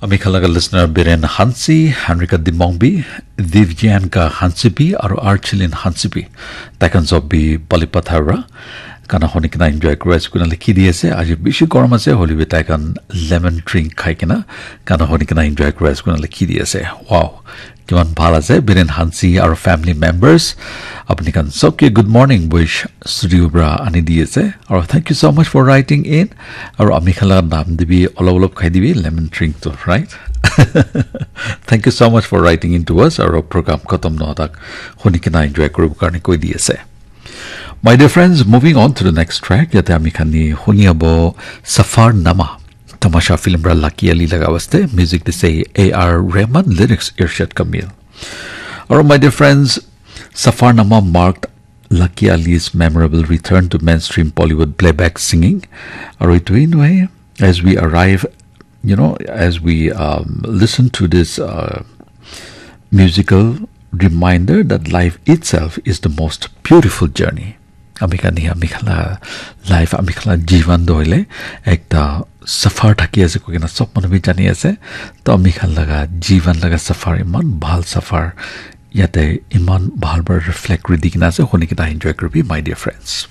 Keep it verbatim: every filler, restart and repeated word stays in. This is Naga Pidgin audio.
Ami khan laga listener Biren Hansi, Henrika Dimongbi, Divyanka Hansibi, aru Archilin Hansibi. Tai khan sob bi Balipathar ra. Gana honi kena enjoy kuri ase koina likhi di ase. Aji bishi gorom ase, hoilebi tai khan lemon drink khai kena gana honi kena enjoy kuri ase koina likhi di ase. Wow. Kiman bhal ase, Biren Hansi aru family members. Apni khan sobke good morning wish studio pra ani di ase. Aru thank you so much for writing in. Aru ami khan laga naam dibi olop olop khai dibi lemon drink to, right? Thank you so much for writing in to us. Aru program khatam nohotak honi kena enjoy kuribo karne koi di ase. My dear friends, moving on to the next track, yate ami khan ni huni abo Safar Nama, Tamasha film ra Lucky Ali laga waste, music dise A R Rahman, lyrics Irshad Kamil. Aru my dear friends, Safar Nama marked Lucky Ali's memorable return to mainstream Bollywood playback singing. Aru etu hi nohoi, as we arrive, you know, as we um, listen to this uh, musical reminder that life itself is the most beautiful journey. Ami khan hi ami khan la life, ami khan la jivan tu hoile ekta safar thaki ase koi kena sob manu bi jani ase. To ami khan laga jivan laga safar iman bhal safar, yate iman bhal para reflect kuri di kena ase, huni kena enjoy kuribi, my dear friends.